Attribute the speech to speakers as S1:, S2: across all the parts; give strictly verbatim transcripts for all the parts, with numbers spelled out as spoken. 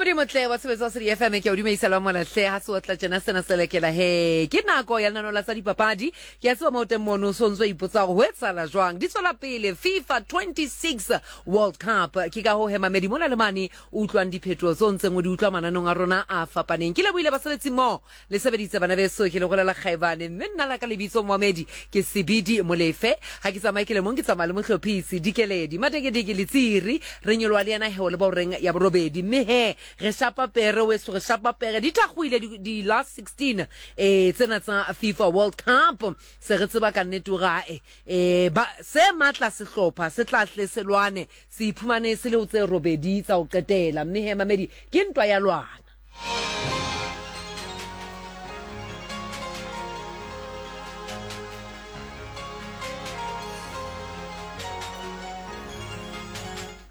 S1: Mamedi motle wa tshebetso wa Sedi F M, ke o dumedisa le wa molahle ha se o tla tjena sena se lekela he. Ke nako ya lenaneo la tsa dipapadi. Ke a tseba mo teng mono o sontso ipotsa hore ho etsahala jwang. Di tswela pele FIFA twenty-six World Cup. Ke ka ho he mamedi mona le mane o utlwang diphetoho tseo ntseng o di utlwa mananong a rona a fapaneng. Ke lebohile basebetsi mmoho le sebeditse bana beso, ke le golela Kgaebane, mme nna la ka lebitso Moamedi ke Sebidi Molefe. Ha ke tsamaye ke le mong, ke tsamaya le mohlophisi Dikeledi Madekedeke Letsiri, re nyoloha le yena he o le ba horeng ya borobedi. Mme he re shapa pere weso, re shapa pere di thakgoile di, di last sixteen eh tsena tsa FIFA World Cup. Se re tseba ka nnete hore ae, eh, ba se matla sehlopha se tla hle se lwane, se iphumane se le ho tse robedi tsa ho qetela. Mme he mamedi ke ntwa ya lwana.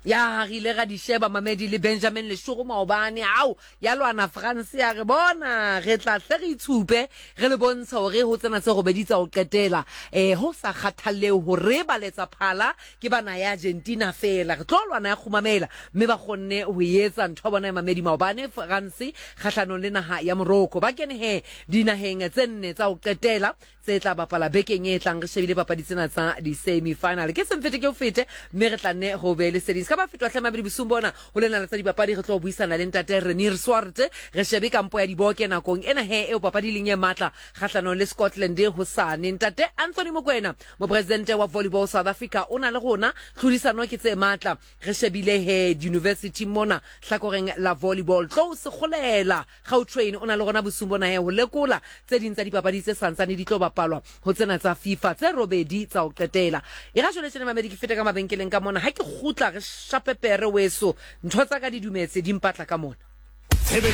S1: Ya re ile ra di sheba mamedi le Benjamin Leshoro maobane, ao ya lwana France ya re bona re tla hle re itshupe re le bontsha hore ho tsena tse robedi tsa ho qetela, eh ho sa kgathalle hore ba letsa phala ke bana ya Argentina fela, re tlo lwana ya kgumamela, mme ba kgonne ho etsa ntho bona ya mamedi maobane France kgahlanong le naha ya Morocco. Ba kene he dinaheng tse nne tsa ho qetela tse tla bapala bekeng e tlang, re shebile papadi tsena tsa di-semi-final. Ke semfete ke o fete, mme re tla nne ho be leseding. Se ka ba fetwa hle mabedi bosiung bona ho lena la tsa dipapadi, re tlo buisana le ntate Renier Swart, re shebe kampo ya diboke nakong ena he eo papadi leng e matla kgahlanong le Scotland hosane. Ntate Anthony Mokoena, mopresidente wa Volleyball South Africa, o na le rona, tlhodisano ke tse matla, re shebile he university mona hlakoreng la volleyball. Tlo se kgolela Gautrain o na le rona bosiung bona he ho lekola tse ding tsa dipapadi tse santsane di tlo bapalwa ho tsena tsa FIFA tse robedi tsa ho qetela. E ra jwale tjena mamedi ke fete ka mabenkeleng ka mona, ha ke kgutla re shape pere weso, ntho tsa ka di dumetse di mpatla ka mona.